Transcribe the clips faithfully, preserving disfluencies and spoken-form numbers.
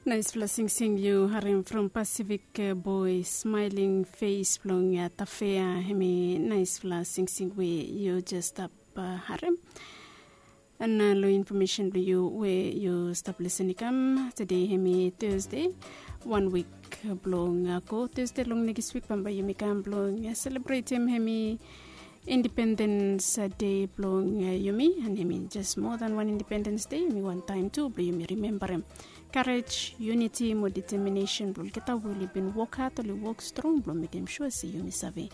Naispela singsing yu harim from Pacific Boy, Smiling Face blong Tafea. Hemi naispela singsing we yu jes stap harim. An long infomesen blong yu we yu stap lisin i kam, tede hemi Thursday, wan wik blong go Thursday long nekis wik bambae yumi kam blong selebretim hemi Independens Dei blong yumi. An hemi jes moa dan wan Independens Dei, hemi wan taem tu blong yumi rimembarem karej, yuniti mo deteminesen blong olgeta we oli bin wok had, oli wok strong blong mekem sua se yumi save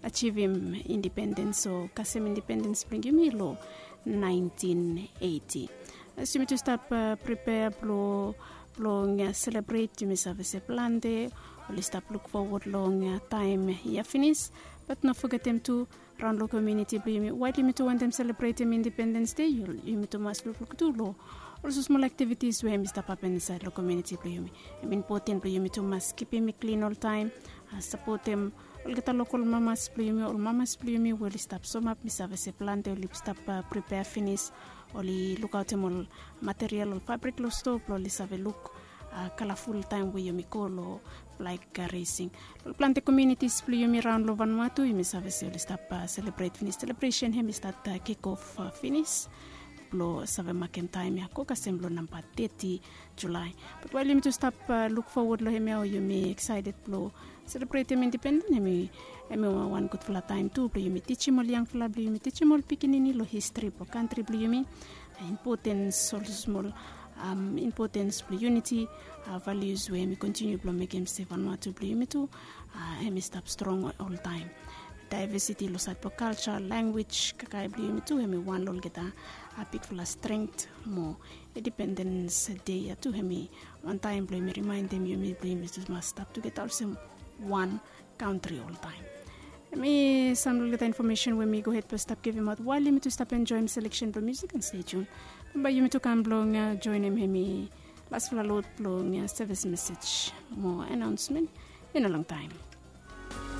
ajivim independens o kasem independens blong yumi long naentin eiti. As yumi tu stap pripea blong selebret, yumi save se plante oli stap luk fowod long taem ya finis. Bat no fogetem tu, raon long komuniti blong yumi, wael yumi tu wantem selebretim Independens Dei, yumi tu mas lukluk tu long olsem smol aktivitis we hemi stap hapen insaed long komuniti blong yumi. Hem impoten blong yumi tu mas kipim i klin oltaem, sapotem olgeta lokol mamas blong yumi, ol mamas blong yumi we oli stap somap. Mi save se plante oli stap pripea finis, oli lukaotem ol material, ol fabrik long stoa blong oli save luk kalaful taem we yumi go long flag resing. Long plante komunitis blong yumi raon long Vanuatu, yumi save se oli stap selebret finis. Selebresen hemi stat kikof finis blong save makem taem ya go kasem long namba teti Julae. Bat wael yumi tu stap luk fowod long hemia, yumi eksaeted blong selebretem independens, hemi wan gudfala taem tu blong yumi tijim ol yangfala blong yumi, tijim ol pikinini long histri blong kantri blong yumi, impotens, ol smol impotens blong yuniti, valius we hemi kontiniu blong mekem se Vanuatu blong yumi tu hemi stap strong oltaem. Daevesiti long saed blong kalja, lanwis, kakae blong yumi tu, hemi wan long olgeta bigfala strength mo Independens Dei ya tu hemi wan taem blong yumi rimaendem yumi blong yumi tu mas stap tugeta olsem wan kantri oltaem. Hemi sam long olgeta infomesen we mi gohed blong stap givimaot wael yumi tu stap enjoem seleksen blong musik, an stay tuned. Bambae yumi tu kam blong joenem hemi lasfala lod blong sevis mesej mo anaonsmen i no longtaem.